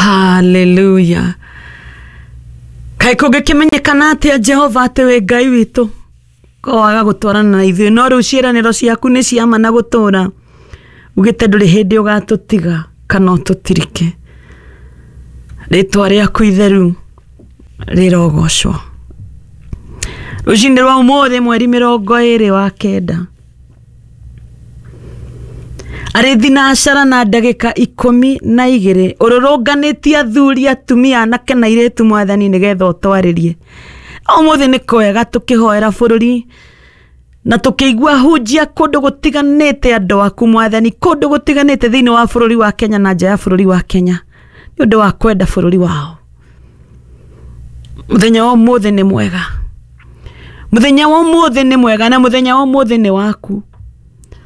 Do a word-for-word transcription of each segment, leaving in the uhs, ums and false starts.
Haleluya. Kaĩ kũngĩkĩmenyekana atĩa Jehova atĩ wĩ Ngai witũ ko waga gũtwarana na ithuĩ, no rĩu ciĩranĩro ciaku nĩ cia ma na gũtũũra. Ugĩte ndũrĩ hĩndĩ ũgatũtiga kana ũtũtirike. Rĩtwa rĩaku itheru rĩrogocwo. Rũcinĩ rwa ũmũthĩ mweri mĩrongo ĩrĩ wa kenda, arĩ thinacara na ndagĩka ikũmi na igĩrĩ, ũrũrũnganĩtie athuri, atumia, anake na airĩtu Mwathani, nĩgetha ũtwarĩrie. Ũmũthĩ nĩ kwega tũkĩhoera bũrũri na tũkĩigua hunjia kũndũ gũtiganĩte andũ aku Mwathani, kũndũ gũtiganĩte thĩinĩ wa bũrũri wa Kenya na nja ya bũrũri wa Kenya, nĩ ũndũ wa kwenda bũrũri wao. Mũthenya wa ũmũthĩ nĩ mwega, mũthenya wa ũmũthĩ nĩ mwega, na mũthenya wa ũmũthĩ nĩ waku,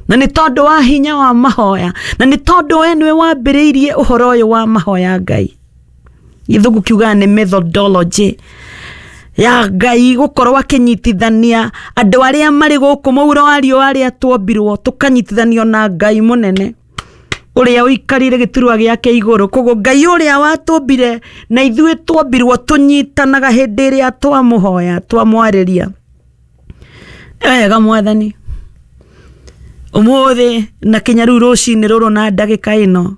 na nĩ tondũ wa hinya wa mahoya, na nĩ tondũ we nĩwe wambĩrĩirie ũhoro ũyũ wa mahoya. Ngai, gĩthũngũ kiugaga nĩ methodology ya Ngai gũkorwo akĩnyitithania andũ arĩa marĩ gũkũ mũhuro wa riũa, arĩa tuombirwo tũkanyitithanio na Ngai mũnene ũrĩa ũikarĩire gĩturwa gĩake igũrũ. Koguo Ngai ũrĩa watũmbire na ithuĩ tuombirwo tũnyitanaga hĩndĩ ĩrĩa twamũhoya, twamwarĩria. Nĩ wega Mwathani, ũmũthĩ na kinya rĩu rũcinĩ rũrũ na ndagĩka ĩno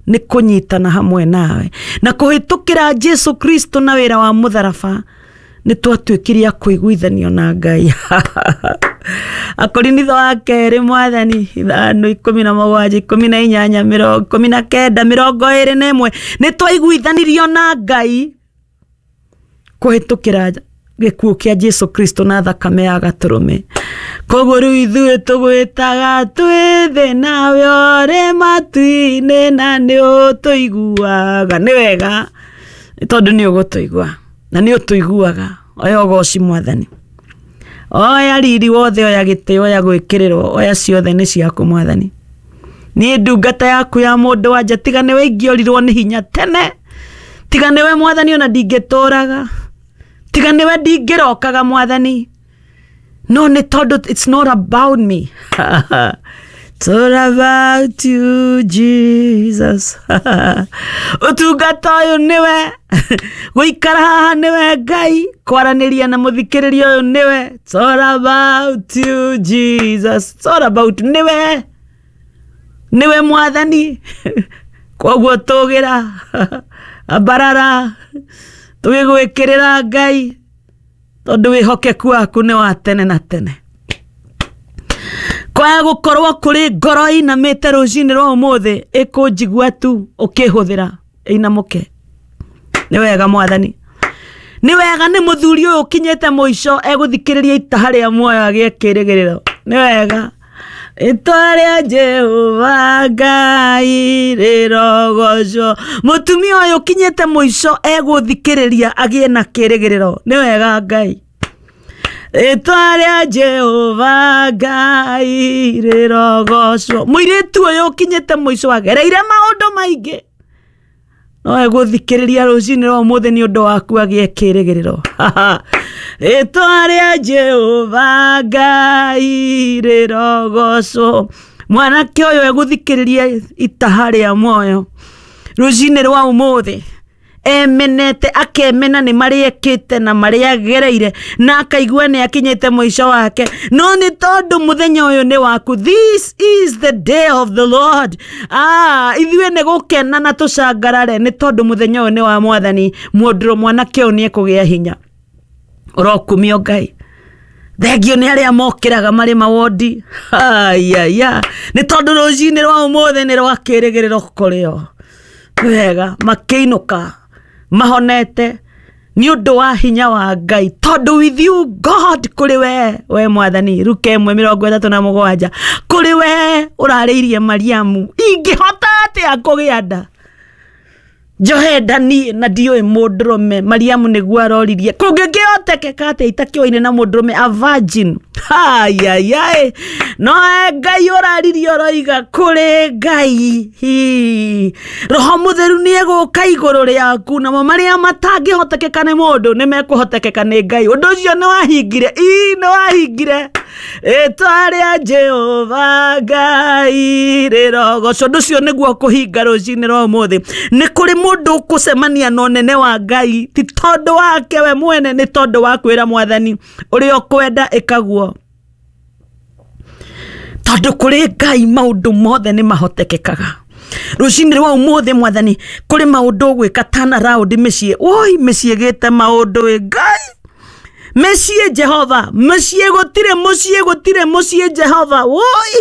nĩ kũnyitana hamwe nawe na kũhĩtũkĩra Jesu Kristo na wĩra wa mũtharaba nĩ twatuĩkire a kũiguithanio na Ngai. Akorinitho wa kerĩ Mwathani ithano ikũmi na mũgwanja ikũmi na inyanya mĩrongo ikũmi na kenda mĩrongo ĩrĩ na ĩmwe, nĩ twaiguithanirio na Ngai kũhĩtũkĩra gĩkuũ kĩa Jesu Kristo na thakame ya gatũrũme. Koguo rĩu ithuĩ tũgwĩtaga twĩ thĩ nawe ũrĩ matu-inĩ na nĩ ũtũiguaga. Nĩ wega tondũ nĩ ũgũtũigua na nĩ ũtũiguaga. Oya ũgoci Mwathani, oya riri wothe, oya gĩtĩo, oya gwĩkĩrĩrwo, oya ciothe nĩ ciaku Mwathani. Niĩ ndungata yaku ya mũndũ wanja, tiga nĩwe ingĩorirwo nĩ hinya tene, tiga nĩwe Mwathani ona ndingĩtũraga, tiga nĩwe ndingĩrokaga Mwathani, no nĩ tondũ it's not about me. It's all about you, Jesus. Ũtungata ũyũ nĩwe, gũikara haha nĩwe Ngai, kwaranĩria na mũthikĩrĩria ũyũ nĩwe. It's all about you, Jesus. It's all about nĩwe, nĩwe Mwathani. Koguo tũgĩra ambarara tũgĩgwĩkĩrĩra Ngai, tondũ wĩhokeku waku nĩ wa tene na tene. Kwaga gũkorwo kũrĩ ngoro ĩinamĩte rũcinĩ rwa ũmũthĩ ĩkũnjigua tu ũkĩhũthĩra ĩinamũke. Nĩ wega Mwathani, nĩ wega nĩ mũthuri ũyũ ũkinyĩte mũico egũthikĩrĩria itaha rĩa muoyo agĩe kĩrĩgĩrĩro. Nĩ wega. Rĩtwa rĩa Jehova Ngai rĩrogocwo. Mũtumia ũyũ ũkinyĩte mũico egũthikĩrĩria agĩe na kĩrĩgĩrĩro. Nĩ wega Ngai. Rĩtwa rĩa Jehova Ngai rĩrogocwo. Mũirĩtu ũyũ ũkinyĩte mũico agereire maũndũ maingĩ, no egũthikĩrĩria rũcinĩ rwa ũmũthĩ nĩ ũndũ waku agĩe kĩrĩgĩrĩro. Rĩtwa rĩa Jehova Ngai rĩrogocwo. Mwanake ũyũ egũthikĩrĩria itaha rĩa muoyo rũcinĩ rwa ũmũthĩ, emenete akemena nĩ marĩa ekĩte na marĩa agereire, na akaigua nĩ akinyĩte mũico wake, no nĩ tondũ mũthenya ũyũ nĩ waku. This is the day of the Lord. Ah, ithuĩ nĩ gũkena na tũcangarare nĩ tondũ mũthenya ũyũ nĩ wa Mwathani. Mũndũ mwanake ũyũ nĩ ekũgĩa hinya. Ũrokumio Ngai. Thengio nĩ arĩa mokĩraga marĩ mawondi. Ayaya, nĩ tondũ rũcinĩ rwa ũmũthĩ nĩ rwa kĩrĩgĩrĩro kũrĩ o. Wega, makĩinũka mahonete nĩ ũndũ wa hinya wa Ngai, tondũ with you God, kũrĩ we we Mwathani. Luka ĩmwe mĩrongo ĩtatũ na mũgwanja, kũrĩ we ũrarĩirie Mariamu, ingĩhota atĩa kũgĩa nda njohe nda niĩ na ndiũĩ mũndũrũme? Mariamu nĩguo aroririe, kũngĩkĩhotekeka atĩa itakĩoine na mũndũrũme, a virgin? Ayayai, no Ngai ũraririe ũroiga kũrĩ Ngai. Hi. Roho Mũtheru nĩ egũka igũrũ rĩaku, namo marĩa matangĩhotekeka nĩ mũndũ nĩ mekũhotekeka nĩ Ngai. Ũndũ ũcio nĩ wahingire, ii nĩ wahingire. Rĩtwa rĩa Jehova Ngai rĩrogocwo. Ũndũ ũcio nĩguo kũhinga rũcinĩ rwa ũmũthĩ. Nĩ kũrĩ mũndũ ũkũcemania na ũnene wa Ngai ti tondũ wake we mwene, nĩ tondũ wa kwĩra Mwathani ũrĩa ũkwenda ĩkaguo. Tondũ kũrĩ Ngai maũndũ mothe nĩ mahotekekaga. Rũcinĩ rwa ũmũthĩ Mwathani kũrĩ maũndũ ũgwĩka turn around mĩciĩ. Woi, mĩciĩ ĩgĩte maũndũ ĩ Ngai. Mĩciĩ Jehova, mĩciĩ gũtirĩ, mũciĩ gũtirĩ, mũciĩ Jehova. Woi,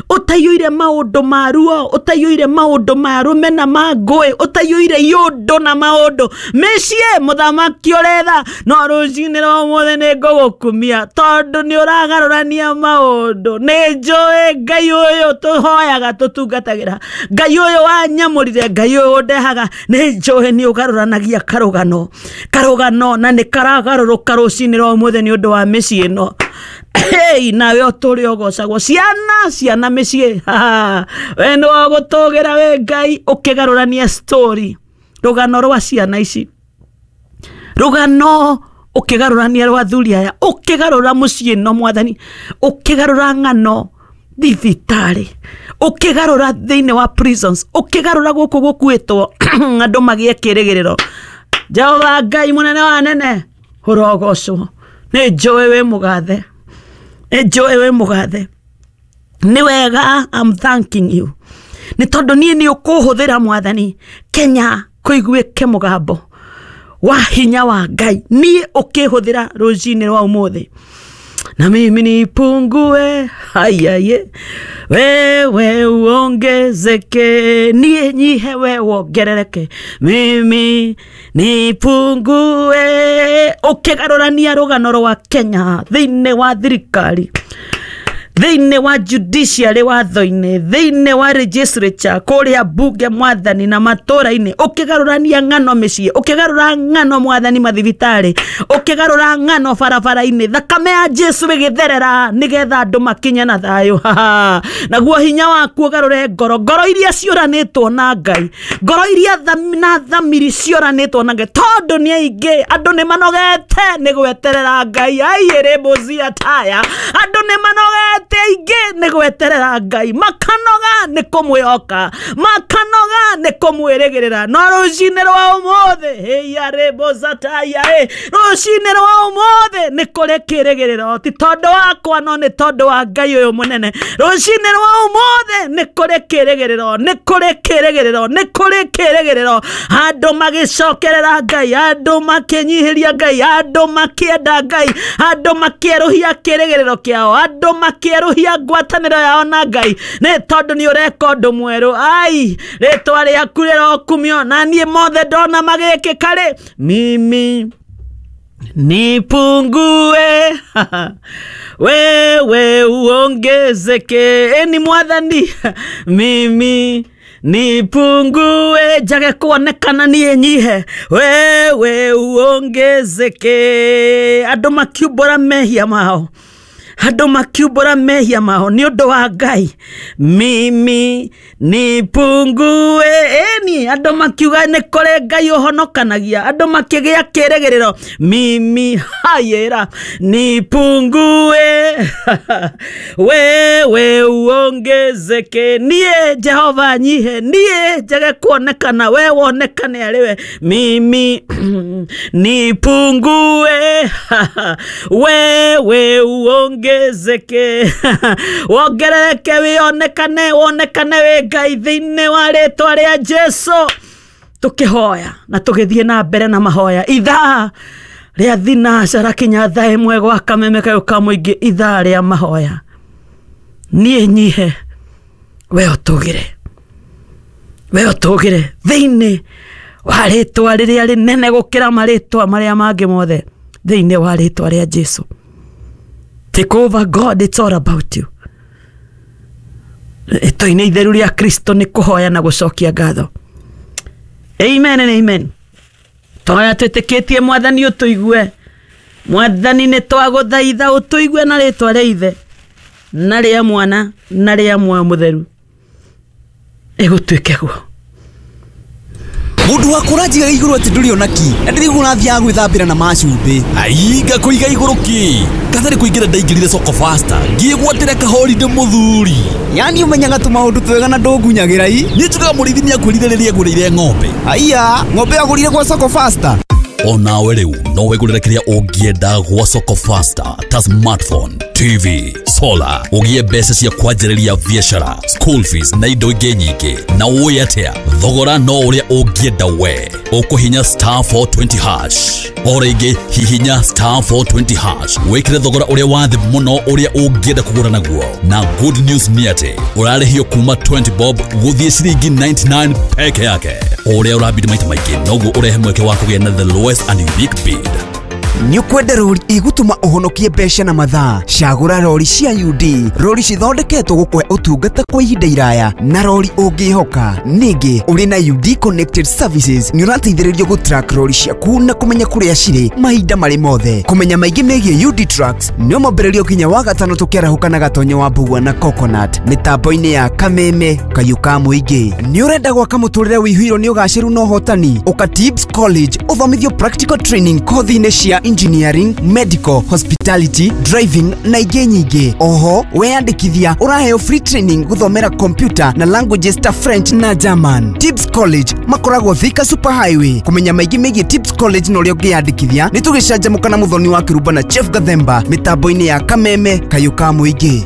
ũtaiyũire maũndũ ma ruo, ũtaiyũire maũndũ ma rũmena ma ngũĩ, ũtaiyũire iũndũ na maũndũ. Mĩciĩ mũthamaki ũretha, no rũcinĩ rwa ũmũthĩ nĩ ngũgũkumia tondũ nĩ ũragarũrania maũndũ. Nĩ njũĩ Ngai ũyũ tũhoyaga tũtungatagĩra, Ngai ũyũ wanyamũrire, Ngai ũyũ ũndehaga, nĩ njũĩ nĩ ũgarũranagia karũgano, karũgano na nĩ karagarũrũka rũcinĩ rwa ũmũthĩ nĩ ũndũ wa mĩciĩ ĩno. Hey, nawe ũtũre ũgocagwo. Ciana, ciana mĩciĩ, we nĩ wa gũtũgĩra we Ngai ũkĩgarũrania story, rũgano rwa ciana ici, rũgano ũkĩgarũrania rwa athuri aya, ũkĩgarũra mũciĩ ĩno Mwathani, ũkĩgarũra ng'ano thibitarĩ, ũkĩgarũra thĩinĩ wa prisons, ũkĩgarũra gũkũ gũkuĩtwo andũ magĩe kĩrĩgĩrĩro. Jehova Ngai mũnene wa nene, ũrogocwo. Nĩ njũĩ wĩ mũgathe, nĩ njũĩ wĩ mũgathe. Nĩ wega, I'm thanking you nĩ tondũ niĩ nĩ ũkũhũthĩra Mwathani Kenya kũiguĩke mũgambo wa hinya wa Ngai. Niĩ ũkĩhũthĩra rũcinĩ rwa ũmũthĩ, na mimi nipungue, hayaye, wewe uongezeke, niĩ nyihe we wongerereke, mimi nipungue. Ũkĩgarũrania rũgano rwa Kenya thĩinĩ wa thirikari, thĩinĩ wa judiciary watho-inĩ, thĩinĩ wa legislature kũrĩa bunge Mwathani na matũra-inĩ, ũkĩgarũrania ng'ano mĩciĩ, ũkĩgarũra ng'ano Mwathani mathibitarĩ, ũkĩgarũra ng'ano barabara-inĩ, thakame ya Jesu ĩgĩtherera nĩgetha andũ makinye na thayũ. Naguo hinya waku ũgarũre ngoro, ngoro iria ciũranĩtwo na Ngai, ngoro iria na thamiri ciũranĩtwo na Ngai, tondũ nĩ aingĩ andũ nĩ manogete nĩ gweterera Ngai. Aiĩrĩ mbũcia taya, andũ nĩ manogete aingĩ nĩ gweterera Ngai, makanoga nĩ kũmwĩhoka, makanoga nĩ kũmwĩrĩgĩrĩra. No rũcinĩ rwa ũmũthĩ, hĩyarĩmbũcataya, rũcinĩ rwa ũmũthĩ nĩ kũrĩ kĩrĩgĩrĩro, ti tondũ wakwa no nĩ tondũ wa Ngai ũyũ mũnene. Rũcinĩ rwa ũmũthĩ nĩ kũrĩ kĩrĩgĩrĩro, nĩ kũrĩ kĩrĩgĩrĩro, nĩ kũrĩ kĩrĩgĩrĩro. Andũ magĩcokerera Ngai, andũ makĩnyihĩria Ngai, andũ makĩenda Ngai, andũ makĩerũhia kĩrĩgĩrĩro kĩao, andũ makĩerũhia ngwatanĩro yao na Ngai, nĩ tondũ nĩ ũreka ũndũ mwerũ. Ai, rĩtwa rĩaku rĩrokumio, na niĩ mothe ndona magĩkĩka rĩ, mimi nipungue, wewe uongezeke. Eni Mwathani, mimi nipungue, njage kuonekana niĩ nyihe, wewe uongezeke. Andũ makiumbũra mehia mao, andũ makiumbũra mehia mao nĩ ũndũ wa Ngai, mimi nipungue. Eni andũ makiuga nĩ kũrĩ Ngai ũhonokanagia, andũ makĩgĩa kĩrĩgĩrĩro, mimi hayera nipungue, wewe uongezeke. Niĩ Jehova nyihe, niĩ njage kuonekana, we wonekane arĩ we, mimi nipungue, wewe uongezeke. Wongerereke, wĩonekane, wonekane wĩ Ngai thĩinĩ wa rĩtwa rĩa Jesu. Tũkĩhoya na tũgĩthiĩ na mbere na mahoya, ithaa rĩa thinacara kinya thaa ĩmwe gwa kameme kayũ ka mũingĩ, ithaa rĩa mahoya. Niĩ nyihe, we ũtũgĩre, we ũtũgĩre thĩinĩ wa rĩtwa rĩrĩa rĩnene gũkĩra marĩtwa marĩa mangĩ mothe, thĩinĩ wa rĩtwa rĩa Jesu. Take over God, it's all about you. Ĩtwa-inĩ itheru rĩa Kristo nĩ kũhoya na gũcokia ngatho. Amen and amen. Twahoya twĩtĩkĩtie Mwathani ũtũigue. Mwathani nĩ twagũthaitha ũtũigue na rĩtwa rĩa Ithe na rĩa Mwana na rĩa Muoyo Mũtheru. Ĩgũtuĩke guo. Mũndũ wa kũranjiga igũrũ atĩ ndũrĩ ona ki na ndĩrĩguo ũrathiaga gwĩthambĩra na macumbĩ. Ai, ngakũiga igũrũ kĩ? Katarĩ kũingĩra ndaingĩrire Soko Faster ngĩgwatĩra kahorinde mũthuri. Yani ũmenyaga tũmaũndũ twega na ndũngunyagĩra i. Niĩ njugaga mũrĩithi nĩakwĩrire rĩrĩa agũrĩire ng'ombe. Aiya, ng'ombe agũrire gwa Soko Faster. Onawe rĩu no wĩgũrĩre kĩrĩa ũngĩenda gwa Soko Faster ta smartphone, T V, solar, ũgĩe mbeca cia kwanjĩrĩria biacara, school fees na indo ingĩ nyingĩ. Na ũĩ atĩa? Thogora no ũrĩa ũngĩenda we. Ũkũhinya star four twenty hash. O rĩngĩ hihinya star four twenty hash. Wĩkĩre thogora ũrĩa wa thĩ mũno ũrĩa ũngĩenda kũgũra naguo. Na good news nĩ atĩ ũrarĩhio kuma twenty bob gũthiĩ ciringi ninety nine peke yake. O ũrĩa ũrabidi maita maingĩ noguo ũrehe mweke wa kũgĩa na the lowest and unique bid. Nĩ ũkwenda rori igũtũma ũhonokie mbeca na mathaa? Cagũra rori cia U D, rori cithondeketwo gũkũhe ũtungata kwa ihinda iraya na rori ũngĩhoka. Ningĩ ũrĩ na U D Connected Services nĩ ũrateithĩrĩrio gũ-track rori ciaku na kũmenya kũrĩa cirĩ mahinda marĩ mothe. Kũmenya maingĩ megiĩ U D Trucks nĩ mwambĩrĩrio nginya wa gatano tũkĩarahũka na Gatonyo wa Mbugua na Coconut mĩtambo-inĩ ya Kameme Kayũ ka Mũingĩ. Nĩ ũrenda gwaka mũtũrĩre wĩihũirwo nĩ ũgacĩru na ũhotani? Ũka Tibbs College ũthomithio practical training kothi-inĩ cia engineering, medical, hospitality, driving na ingĩ nyingĩ. Oho weyandĩkithia ũraheo free training gũthomera computer na languages ta French na German. Tibbs College makoragwo Thika Super Highway. Kũmenya maingĩ megiĩ Tibbs College na ũrĩa ũngĩyandĩkithia nĩ tũgĩcanjamũka na Mũthoni wa Kĩrumba na Chief Gathemba mĩtambo-inĩ ya Kameme Kayũ ka Mũingĩ.